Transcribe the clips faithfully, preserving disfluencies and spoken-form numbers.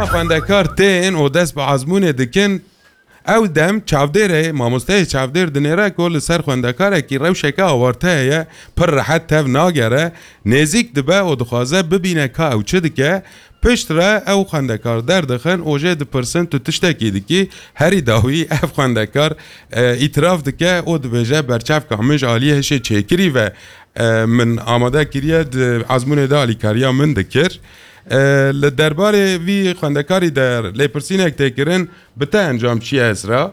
Xwendekar tên û dest bi ezmûnê dikin. Ew dem çavdêrê, mamosteyê çavdêr dinêre ku li ser xwendekarekî rewşeke awarte heye, pir rehet tev nagere, nêzîk dibe û dixwaze bibîne ka ew çi dike. Piştre ew xwendekar derdixin û jê dipirsin, tu tiştekî dikî? Herî dawî ev xwendekar, e, îtiraf dike û dibêje, berçavka min ji aliyê hişê çêkirî ve, e, min amade kiriye, di ezmûnê de alîkariya min dikir. E, li derbarê vî xwendekarî de lêpirsînek tê kirin, bi te encam çi ye, Esra?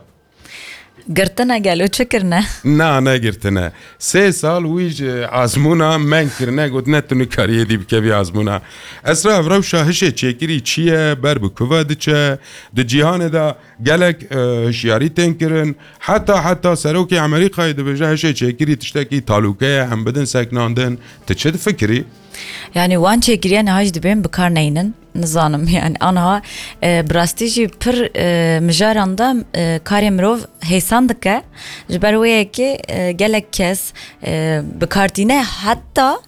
Girtine gelo çi kirine? Na, negirtine. Sê sal wî ji azmûna men kirine, gotine tu nikarî êdî bikevî azmûna. Esra, ev rewşa hişê çêkirî çi ye? Ber bi ku ve diçe? Di cîhanê de gelek, e, hişyarî tên kirin. Heta, heta serokê Amerîkayê dibêje hişê çêkirî tiştekî talûke ye, em bidin seknandin. Tu çi difikirî? Yani wan çêkiriye niha jî dibên bi kar neynin. Nizanim yani anha, e, bi rastî jî pir, e, mijaran de, e, karê mirov hêsan dike. Ji ber wê yekê, e, gelek kes, e, bi kar tîne, heta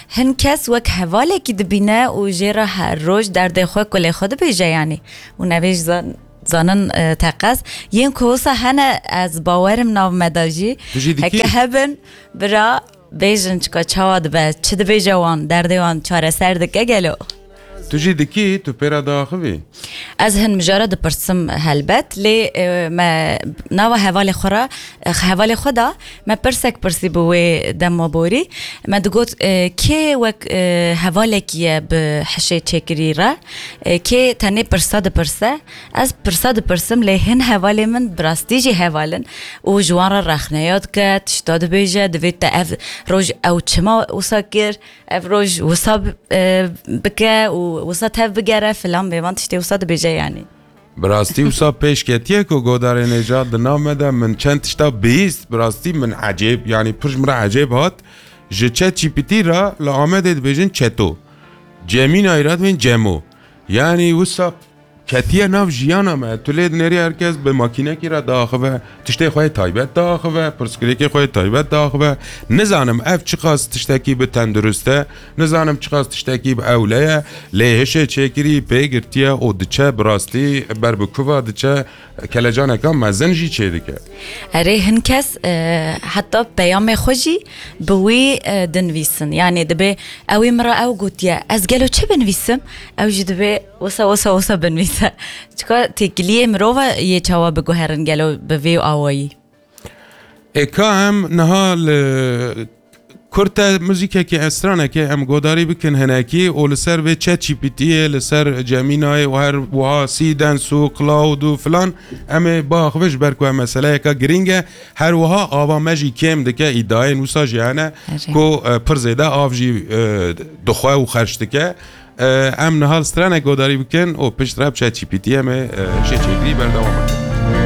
hin kes wek hevalekî dibîne û jê re her roj derdê xwe kulê xwe dibêje yani. Û nevê jî zan-, zanin, e, teqez. Yên ku wisa hene ez bawerim nav me de jî. Tu jî dikî? Heke hebin, bira, bêjin çika çawa dibe, çi dibêje wan, derdê wan çareser dike gelo? Tu jî dikî, tu pê re diaxivî? Ez hin mijara dipirsim helbet, lê, e, me nava hevalê xwe re, e, hevalê xwe da, me pirsek pirsî bi wê dema borî. Me digot, e, kê wek, e, hevalekî ye bi hişê çêkirî re, e, kê tenê pirsa dipirse? Ez pirsa dipirsim, lê hin hevalê min bi rastî jî heval in û ji wan re rexneya dike, tişta dibêje, divê te ev roj ew çima wisa kir, ev roj wisa bi-, e, bike û wisa tev bigere filan, bêvan tiştê wisa dibêje yanî. Bi rastî wisa pêş ketiye ku godarê nêja di nav me de min çend tişta bihîst, bi rastî min ecêb, yanî pir ji min re ecêb hat. Ji ChatGPT re li Amedê dibêjin çeto. Gemini re dibên cemo. Yanî wisa ketiye nav jiyana me. Tu lê dinêrî her kes bi makînekî re diaxive, tiştê xwe yê taybet diaxive, pirsgirêkê xwe yê taybet diaxive. Nizanim ev çiqas tiştekî bi tendurist e, nizanim çiqas tiştekî bi ewle ye, lê hişê çêkirî pê girtiye û diçe bi rastî ber bi kuva diçe, kelecaneka mezin jî çêdike. Erê, hin kes, e, heta peyamê xwe jî bi wî, e, dinivîsin. Yanî dibê ew ê min re ew gotiye, ez gelo çi binivîsim? Ew jî dibê wisa, wisa, wisa binivîse. Çika têkiliyê mirova yê çawa biguherin gelo bi vê awayî? Ê ka em niha li kurte muzîkekê, stranekê em godarî bikin hinekî û li ser vê ChatGPT yê, li ser Gemini yê û her wiha Seedance û Claude û filan, em ê biaxivin ji ber ku ev meseleyeka girîng e. Her wiha ava me jî kêm dike, îdiayên wisa jî hene Erê. ku, e, pir zêde av jî, e, dixwe û xerc dike. E, em niha li stranek godarî bikin û piştre bi ChatGPT em ê, e, hişê çêkirî berdewam bikin.